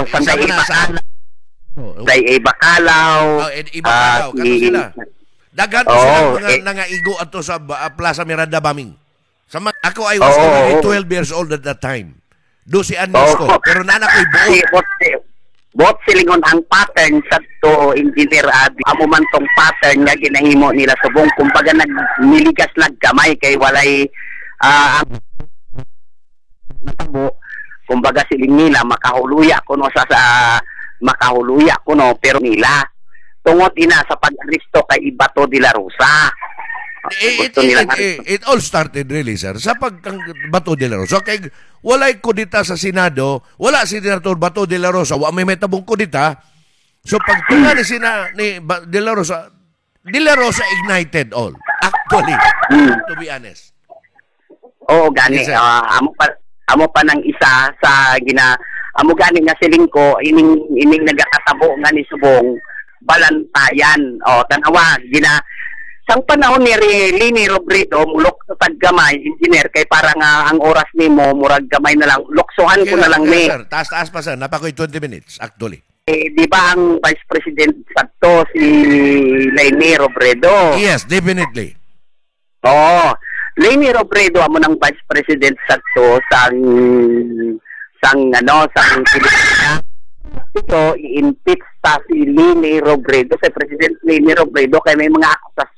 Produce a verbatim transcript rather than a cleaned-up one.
Sama Sanday na sa Ibakalaw, Day Ibakalaw. Oh, eh, Ibakalaw, ah, kato si- sila. Daghan to Oo, sila mga eh. nangaigo ato sa uh, Plaza Miranda bombing. Sa ma- ako I was Oo, already oo. twelve years old at that time. twelve anyos Oo. ko, pero nana ko'y buot. Si bot bot silingon ang pattern sa to, Engineer Adi. Amo man tong pattern nga ginahimo nila subong, kumbaga nagniligas nagkamay kay walay ah, ang natabo. Kumbaga siling nila makahuluya kuno sa, sa makahuluya kuno, pero nila tungod ina sa pag-aresto kay Bato de la Rosa. Eh, It, Gusto it, nilang it, it, it all started really, sir, sa pagkang Bato de la Rosa. Kay walay kudita sa Senado, wala si Senator Bato de la Rosa, wa may may tabong kudita. So pagtunga ni sina ni Ba- de la Rosa, de la Rosa ignited all. Actually, Hmm. to be honest. Oo, gani. Yes, sir. Ah, amo pa amo pa ng isa sa gina amo gani nga siling ko ining ining nagakatabo nga ni subong balantayan. O tanawa gina sang panahon ni Leni Robredo, mulok sa taggamay, Engineer, kay para nga ang oras nimo murag gamay na lang, luksuhan ko na lang Okay, ni. Sir, taas-taas pa, sir, napakoy twenty minutes actually. Eh, di ba ang Vice President sadto si Leni Robredo? Yes, definitely. Oo. Leni Robredo amo ng Vice President sadto sang sang ano sang Pilipinas. Ito i-impeach ta si Leni Robredo, si President Leni Robredo, kay may mga akusasyon.